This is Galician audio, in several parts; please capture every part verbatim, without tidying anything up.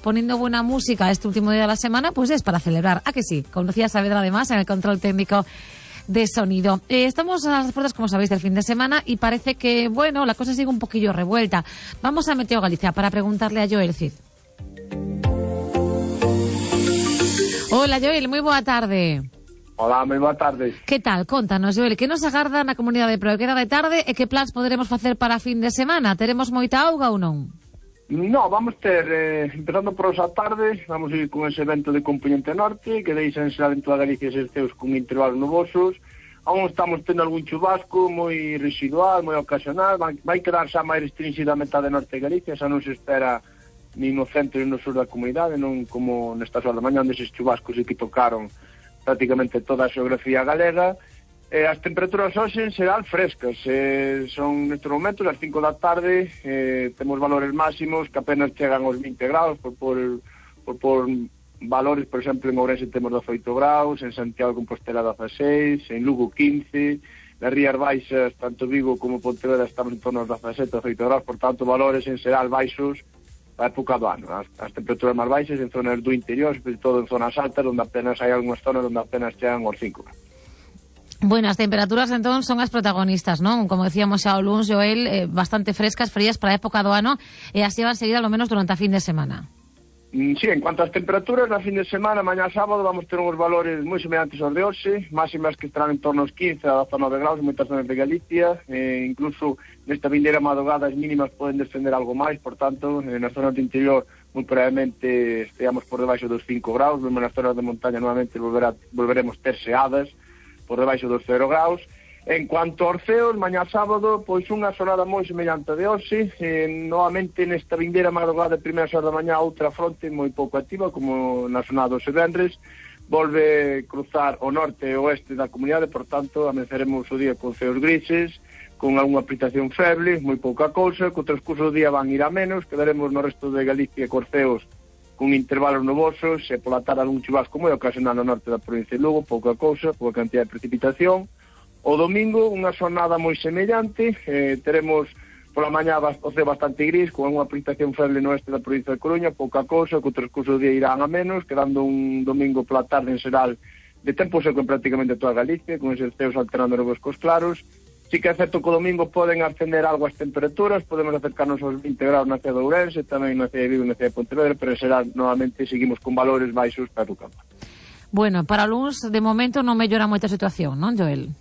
poniendo buena música este último día de la semana, pues es para celebrar. ¿A que sí? Con Lucía Saavedra, además, en el control técnico de sonido. Eh, estamos a las puertas, como sabéis, del fin de semana y parece que, bueno, la cosa sigue un poquillo revuelta. Vamos a Meteo Galicia para preguntarle a Joel Cid. Hola, Joel, moi boa tarde. Hola, moi boa tarde. Que tal? Contanos, Joel, que nos agarda na comunidade de Proequera de tarde e que plans poderemos facer para fin de semana? Teremos moita auga ou non? No, vamos ter, eh, empezando por esa tarde, vamos a ir con ese evento de componente norte, que deixan ser en toda Galicia eses ceos con intervalos nubosos. Aún estamos tendo algún chubasco moi residual, moi ocasional, vai, vai quedar xa máis restringida a metade norte de Galicia, xa non se espera nin no centro nin no sur da comunidade, non como nestas horas da mañá, onde eses chubascos que tocaron prácticamente toda a xeografía galega. Eh, as temperaturas hoxe en xeral frescas, eh, son nestes momentos ás cinco da tarde, eh, temos valores máximos que apenas chegan aos vinte graus, por, por, por, por valores, por exemplo, en Ourense temos dezaoito graus, en Santiago de Compostela dezaseis, en Lugo quince, nas Rías Baixas, tanto Vigo como Pontevedra estamos en torno aos dezasete, dezaoito graus, por tanto, valores en xeral baixos a época do ano. As, as temperaturas máis baixas en zonas do interior, sobre todo en zonas altas, onde apenas hai algunhas zonas onde apenas chegan aos cinco. Bueno, as temperaturas entón son as protagonistas, non? Como decíamos xa o luns, Joel, eh, bastante frescas, frías para a época do ano, e así van seguir ao menos durante a fin de semana. Sí, en cuanto ás temperaturas, na fin de semana, mañá sábado, vamos ter uns valores moi semellantes aos de hoxe, máximas que estarán en torno aos quince a dezanove graus en moitas zonas de Galicia, eh, incluso nesta vindeira madrugada as mínimas poden descender algo máis, por tanto, eh, nas zonas do interior, moi probablemente esteamos por debaixo dos cinco graus, mesmo nas zonas de montaña nuevamente volverá, volveremos ter xeadas por debaixo dos cero graus. En cuanto aos ceos, mañá sábado, pois unha xornada moi semellante de hoxe, eh, novamente nesta vindeira madrugada de primeira xornada da mañá outra fronte moi pouco activa, como na xornada dos venres, volve cruzar o norte e o oeste da comunidade, por tanto, amenceremos o día con ceos grises, con algunha precipitación feble, moi pouca cousa, que o transcurso do día van ir a menos, quedaremos no resto de Galicia cos ceos con intervalos nubosos, e pola tarde algún chubasco moi ocasional no norte da provincia de Lugo, pouca cousa, pouca cantidad de precipitación. O domingo, unha xornada moi semellante, eh, teremos pola mañá o ceo bastante gris, con unha precipitación feble no oeste da provincia de Coruña, pouca cousa, que o transcurso do día irán a menos, quedando un domingo pola tarde en xeral de tempo seco en prácticamente toda Galicia, con eses ceos alternando novos cos claros. Sí que é certo que o domingo poden ascender algo as temperaturas, podemos acercarnos aos vinte graus na cidade de Ourense, tamén na cidade de Vigo e na cidade de Pontevedra, pero en xeral, novamente, seguimos con valores baixos para o campo. Bueno, para o luns, de momento, non mellora moita situación, non, Joel?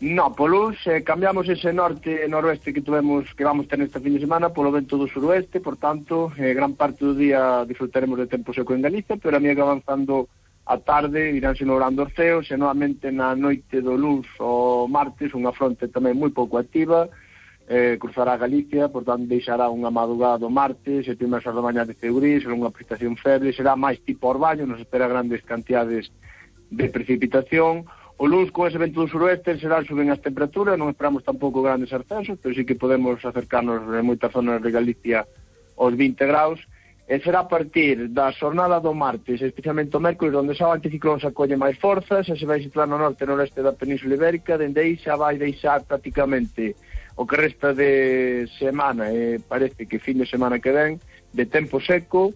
No, polo eh, cambiamos ese norte e noroeste que tuvemos, que vamos ter nesta fin de semana polo vento do suroeste, por tanto, eh, gran parte do día disfrutaremos de tempo seco en Galicia, pero a mí que avanzando a tarde iránse logrando os ceos, e novamente na noite do luns o martes unha fronte tamén moi pouco activa, eh, cruzará Galicia, por tanto deixará unha madrugada do martes, e primeiras horas da mañá de ceo gris, unha precipitación feble, será máis tipo orbaño, non se espera grandes cantidades de precipitación. O luns, con ese vento do suroeste, en xeral suben as temperaturas, non esperamos tampouco grandes ascensos, pero sí que podemos acercarnos en moitas zonas de Galicia aos vinte graus, e será a partir da xornada do martes, especialmente o mércoles, onde xa o anticiclón se acolle máis forzas, e se vai situar no norte e noreste da Península Ibérica, dende aí xa vai deixar prácticamente o que resta de semana, e parece que fin de semana que ven, de tempo seco,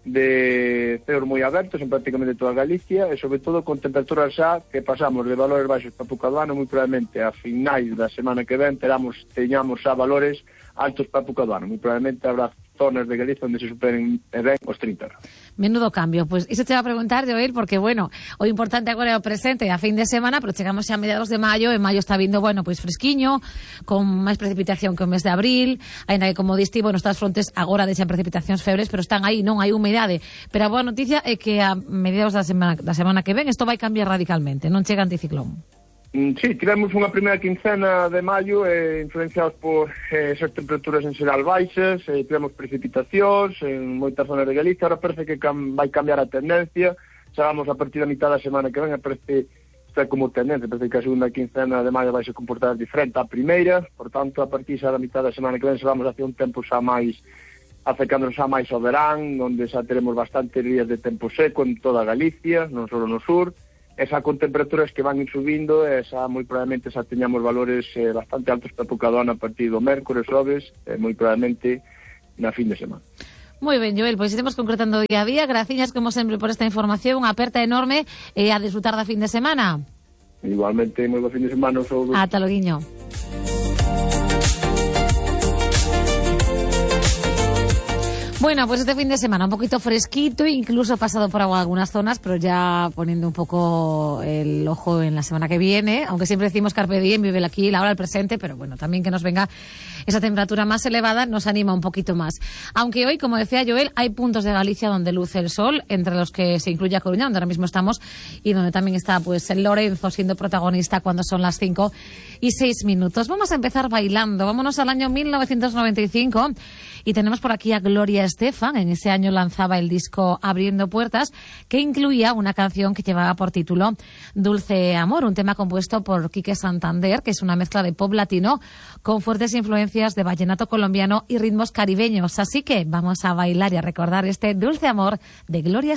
de ceos moi abertos en prácticamente toda Galicia, e sobre todo con temperaturas xa que pasamos de valores baixos para época do ano, moi probablemente a finais da semana que ven teramos, teñamos xa valores altos para época do ano, moi probablemente habrá zonas de Galicia onde se superen e ben os trinta. Menudo cambio, pois pues, iso te va a preguntar, Joel, porque, bueno, o importante agora é o presente a fin de semana, pero chegamos xa a mediados de maio, e maio está vindo, bueno, pois pues, fresquiño, con máis precipitación que o mes de abril, ainda que, como diste, bueno, estas frontes agora deixan precipitacións febres, pero están aí, non hai humidade, pero a boa noticia é que a mediados da semana, da semana que ven isto vai cambiar radicalmente, non chega anticiclón. Sí, tivemos unha primeira quincena de maio eh, influenciados por eh, esas temperaturas en xeral baixas, eh, tivemos precipitacións en moitas zonas de Galicia, ahora parece que cam vai cambiar a tendencia, xa vamos a partir da mitad da semana que ven, parece está como tendencia, parece que a segunda quincena de maio vai se comportar diferente á primeira, por tanto, a partir xa da mitad da semana que ven xa vamos hacia un tempo xa máis, acercándonos xa máis ao verán, onde xa teremos bastantes días de tempo seco en toda Galicia, non só no sur, esa con temperaturas que van ir subindo, esa moi probablemente xa teñamos valores eh, bastante altos para época do ano a partir do mércores, xoves, eh, moi probablemente na fin de semana. Moi ben, Joel, pois iremos concretando día a día. Graciñas, como sempre, por esta información. Unha aperta enorme e a disfrutar da fin de semana. Igualmente, moi bo fin de semana. Ata loguiño. Bueno, pues este fin de semana un poquito fresquito, incluso pasado por agua algunas zonas, pero ya poniendo un poco el ojo en la semana que viene, aunque siempre decimos carpe diem, vive el aquí, la hora, el presente, pero bueno, también que nos venga esa temperatura más elevada nos anima un poquito más. Aunque hoy, como decía Joel, hay puntos de Galicia donde luce el sol, entre los que se incluye a Coruña, donde ahora mismo estamos, y donde también está pues el Lorenzo siendo protagonista cuando son las cinco y seis minutos. Vamos a empezar bailando, vámonos al año mil novecientos noventa y cinco y tenemos por aquí a Gloria Estefan. En ese año lanzaba el disco Abriendo Puertas, que incluía una canción que llevaba por título Dulce Amor, un tema compuesto por Quique Santander, que es una mezcla de pop latino con fuertes influencias de vallenato colombiano y ritmos caribeños. Así que vamos a bailar y a recordar este Dulce Amor de Gloria Estefan.